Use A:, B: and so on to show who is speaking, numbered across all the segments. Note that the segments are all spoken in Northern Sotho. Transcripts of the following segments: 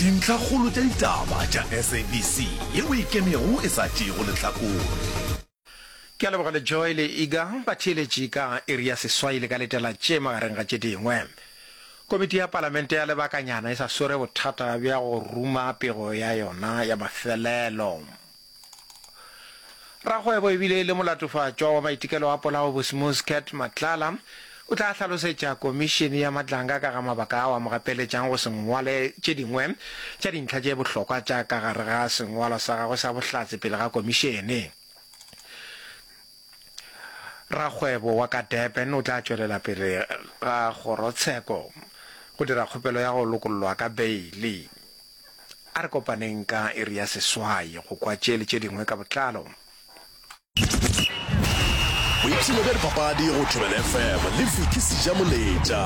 A: Dintlhakgolo tša ditaba tša SABC yeo e ikemego e sa tšeego lehlakore.
B: Ke a leboga le Joy le Iga batheeletši ka iri ya seswai le ka letela tše magareng ga tše dingwe. Komiti ya Palamente ya lebakanyana e sa swere bothata bja go ruma pego ya yona ya mafelelo. Rakgwebo ebile e le molatofatšwa wa maitekelo a polao Bosmus Cat Matlala o tla hlalosetša Komišene ya Matlanga ka ga mabaka ao a mo gapeletšang go se ngwale tše dingwe tša dintlha tše bohlokwa tša ka gare ga sengwalwa sa gagwe sa bohlatse pele ga komišene. Rakgwebo wa ka Durban o tla tšwelela pele ga kgorotsheko go dira kgopelo ya go lokollwa ka beili. A re kopaneng ka iri ya seswai go kwa tše le tše dingwe ka botlalo.
A: Boipshino bja dipapadi go Thobela FM le Vicky Sejamoletša.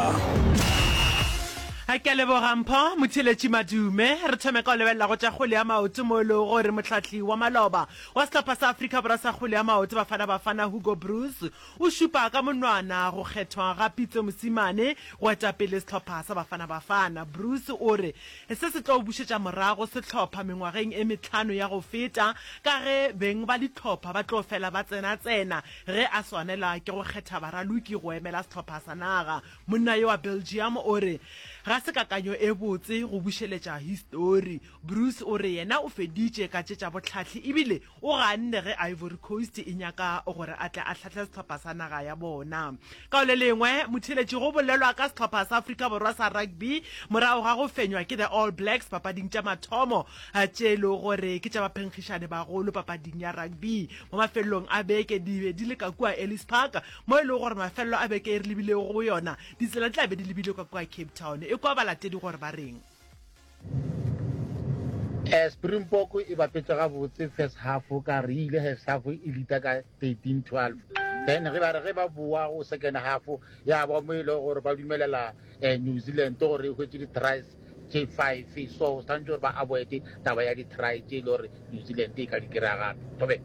C: Ke a leboga Mpho Motheeletši Madume. Re thome ka go lebelela go tša kgwele ya maoto mo e lego gore mohlahli wa maloba wa sehlopha sa Afrika Borwa sa kgwele ya maoto Bafana Bafana Hugo Broos o šupa ka monwana go kgethwa ga Pitso Mosimane go eta pele sehlopha sa Bafana Bafana. Broos o re Se se tlo bušetša morago sehlopha mengwageng e mehlano ya go feta ka ge beng ba dihlopha ba tlo fela ba tsena-tsena ge a swanelwa ke go kgetha baraloki go emela sehlopha sa naga. Monna yo wa Belgium o re ga se kakanyo e botse go bušeletša histori. Broos o re yena o feditše ka tše tša bohlahli ebile O ganne ge Ivory Coast e nyaka gore a tle a hlahle sehlopha sa naga ya bona. Ka go le lengwe, motheeletši go bolelwa ka sehlopha sa Afrika Borwa sa rugby morago ga go fenywa ke The All Blacks papading tša mathomo tše e lego gore ke tša baphenkgišane bagolo papading ya rugby mo mafelelong a beke di be di le ka kua Ellis Park mo e lego gore mafelelo a beke e re lebilego go yona ditsela di tla be di lebile ka kua Cape Town. Ekwa balatedi gore ba reng.
D: Springbok e bapetše gabotse first half ka re ile first half e leader ka 13-12 then ge ba re ge ba boa go second half ya ba mo e le gore ba dumelela eh, New Zealand gore e hwetše di-tries tše five so tshwanetse gore ba avoid taba ya di-try tše e le gore New Zealand e ka di kry-a gape thobe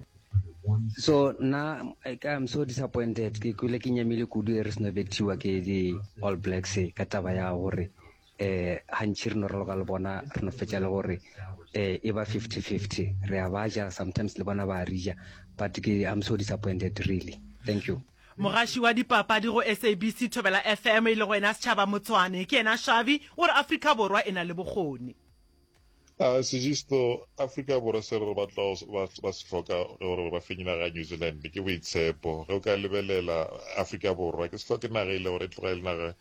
E: So nna I'm so disappointed ke kwele ke nyamile kudu e re seno bethiwa ke di All Blacks ka taba ya gore um gantši re no raloka le bona re no fetša le gore um e ba 50-50 re a ba ja sometimes le bona ba re ja but ke I'm so disappointed really thank you.
C: Mogaši wa dipapadi go SABC Thobela FM e lego yena Setšhaba Motswane, ke yena Xavi, o re Afrika Borwa e na le bokgoni.
F: A Segisto, Afrika Borwa se re batla ba se hloka gore ba fenye naga ya New Zealand ke boitshepo. Ge o ka lebelela Afrika Borwa ke se hloke naga e le gore e tloga e le naga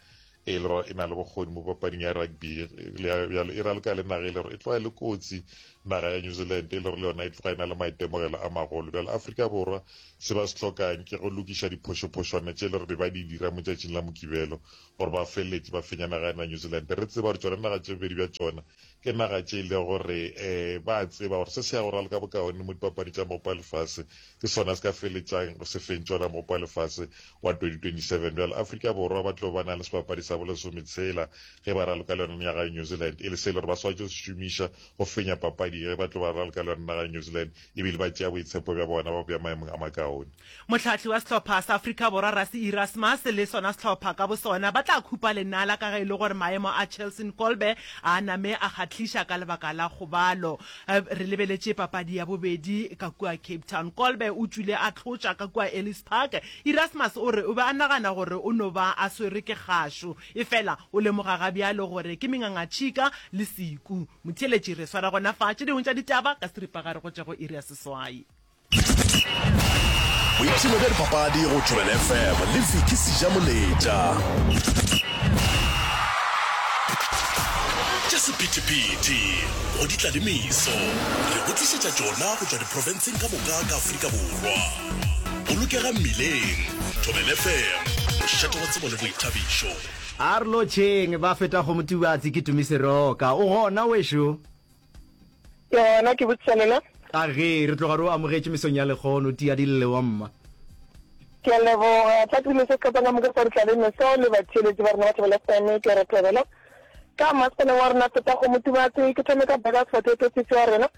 F: e le gore e na le bokgoni mo papading ya rugby bjalo e raloka le naga e le gore e tloga e le kotsi naga ya New Zealand e le gore le yona e tloga e na le maitemogelo a magolo. Bjalo Afrika Borwa se ba se hlokang ke go lokiša diphošophošwana tše e le gore be ba di dira mo tšatšing la Mokibelo gore ba feleletše ba fenya naga ya New Zealand. Re tseba gore tšona naga tše bobedi bja tšona ke naga tše e lego gore um ba a tseba gore se se ya go raloka bokaone mo dipapading tša mogopo wa lefase ke sona se ka feletšang se fentše ona mogopo wa lefase wa 2027. Bjalo Afrika Borwa ba tlo ba na le sebapadi sa bolesometshela ge ba raloka le yona naga ya New Zealand e le se e le gore ba swanetše go se šomiša go fenya papadi ge ba tlo ba raloka le yona naga ya New Zealand ebile ba tšea boitshepo bja bona ba bea maemong a makaone.
C: Mohlahli wa sehlopha sa Afrika Borwa Rassie Erasmus le sona sehlopha ka bosona ba tla khupa lenala ka ge e le gore maemo a Chelsin Kolbe a name a kgahliša ka lebaka la kgobalo. Re lebeletše papadi ya bobedi ka kua Cape Town. Kolbe o tšwile a hlotša ka kua Ellis Park. Erasmus o re o be a nagana gore o no ba a swerwe ke kgašo, efela o lemoga gabjalo gore ke mengangatšhika le seku. Motheeletši re swara gona fa tše dingwe tša ditaba ka seripagare go tšwa go iri ya seswai.
A: Boipshino bja dipapadi go Thobela FM le Vicky Sejamoletša. Tša sephethephethe go di tla le meso, re go tlišetša tšona go tšwa diprofenseng ka moka ka Afrika Borwa. Bolokega mmileng, Thobela FM, mošate wa tsebo le boithabišo.
G: A re lotšheng ba feta kgomotubatsi ke Tumi Seroka. O gona wešo?
H: Ke gona, ke botšiša lena.
G: A ge, re tloga re o amogetše mesong ya lekgono, tia di lle wa mma.
H: Ke a leboga. Tla ke dumedise sehlopha ka moka sa Ditlale Meso le batheeletši ba rena ba Thobela FM. Ke re thobela ka masepaleng wa rena Feta Kgomo Tubatse. Ke thome ka Burgers Potato sisi wa rena.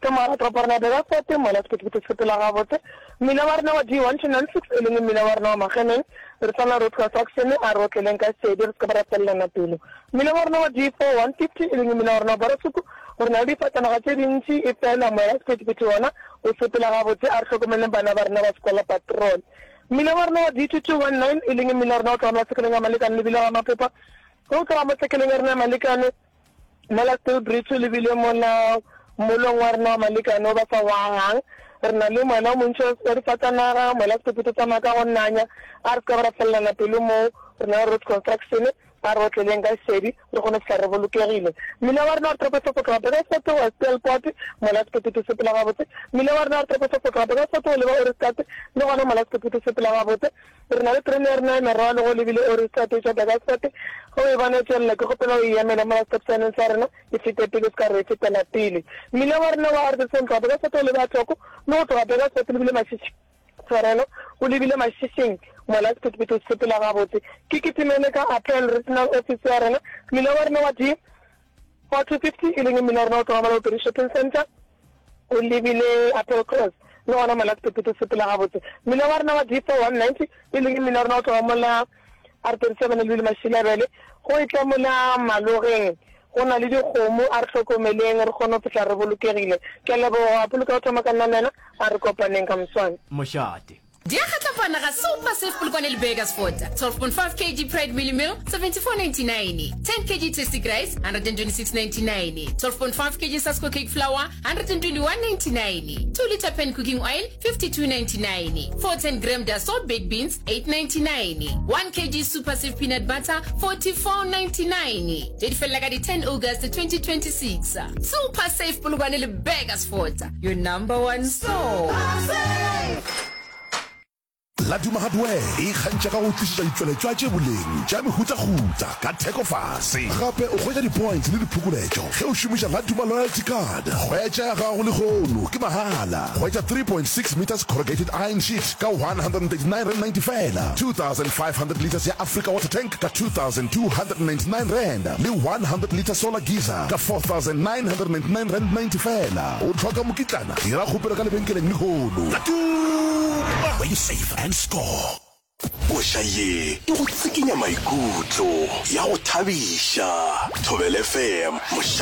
H: Ka mogare ga toropo ya rena ya Burgersfort, mola sephethephethe se sepela gabotse. Mmila wa rena wa D1296, e leng mmila wa rena wa Mageneng, re sa na road construction, a re otleleng ka šedi re se ke ba ra felelana pelo. Mmila wa rena wa D4150, e leng mmila wa rena wa Borasuku, re na le difatanaga tše dintši, efela moya wa sephethephethe wona o sepela gabotse, a re hlokomeleng bana ba rena ba sekola patrol. Mmila wa rena wa D2219, e leng mmila wa rena o tloga masekeleng a Malekane lebile ga Mapopa, ge o tloga mo tsekeleng ya rena ya Malekane, Mola Stillbridge o lebile mola mmolong wa rena wa Malekane o ba sa o agang. Re na le moela o montši wa difatanaga, moela sephephetho o tsamaya ka go nanya. A re se ka ba ra felelana pelo moo. Re na le road construction, a re otleleng ka šedi re kgone go fihla re bolokegile. Mmila wa rena wa Toropo go tloga Burgersfort go ya Steelpoort, mola sephephetho se sepela gabotse. Mmila wa rena wa Toropo go tloga Burgersfort go leba Ohrigstad, le gona mola sephephetho se sepela gabotse. Re na le terene ya rena ya merwalo go lebile Ohrigstad e tšwa Burgersfort. Ge o e bona e tšwelela, ke kgopela o e emele mola stop sign-eng sa rena, e fete pele, o se ka re e fetela pele. Mmila wa rena wa Arthurton go tloga Burgersfort go leba Thoko le go tloga Burgersfort lebile Mashishi, tshwarelo, o lebile Mashishing mola sephethephethe se sepela gabotse. Ke kitimele ka Appel Regional Office ya rena. Mmila wa rena wa D 4250 e leng mmila wa rena o tloga mola Bopedi Shopping Centre. O lebile Applecross, le gona mola sephethephethe se sepela gabotse. Mmila wa rena wa D4190, e leng mmila wa rena o tloga mola R37 o lebile Mashilabele, go etla mola Malogeng, go na le dikgomo, a re hlokomeleng re kgone go fihla re bolokegile. Ke a leboga, Poloko ya go thoma ka nna le wena, a re kopaneng ka moswane.
G: Mošate.
I: Di a kgatlapana ga Super Safe Polokwane le Burgersfort. 12.5 kg Pride Mealie Meal, 74.99. 10 kg Tastic Rice, 126.99. 12.5 kg Sasko Cake Flour, 121.99. 2 litre Pan Cooking Oil, 52.99. 410 gram Dassault Baked Beans, 8.99. 1 kg Super Safe Peanut Butter, 44.99. Tše di felela ka di 10 August 2026. Super Safe Polokwane le Burgersfort, your number one store.
A: Laduma Hardware e ikgantšha ka go tlišetša ditšweletšwa tše boleng tša mehutahuta ka theko fase. Gape o hwetša di-points le diphokoletšo ge o šomiša Laduma Loyalty Card. Hwetša ya gago lehono ke mahala. Hwetša 3.6 metres corrugated iron sheet ka R139.90 feela, 2500 litres ya Africa Water Tank ka R2299 le 100 litre solar geyser ka R4999.90 feela. O hloka mokitlana? Dira kgopelo ka lebenkeleng lehono. Laduma! Where you save and score.
J: Koša ye e go tsikinya maikutlo, ya go thabiša. Thobela FM, mošate.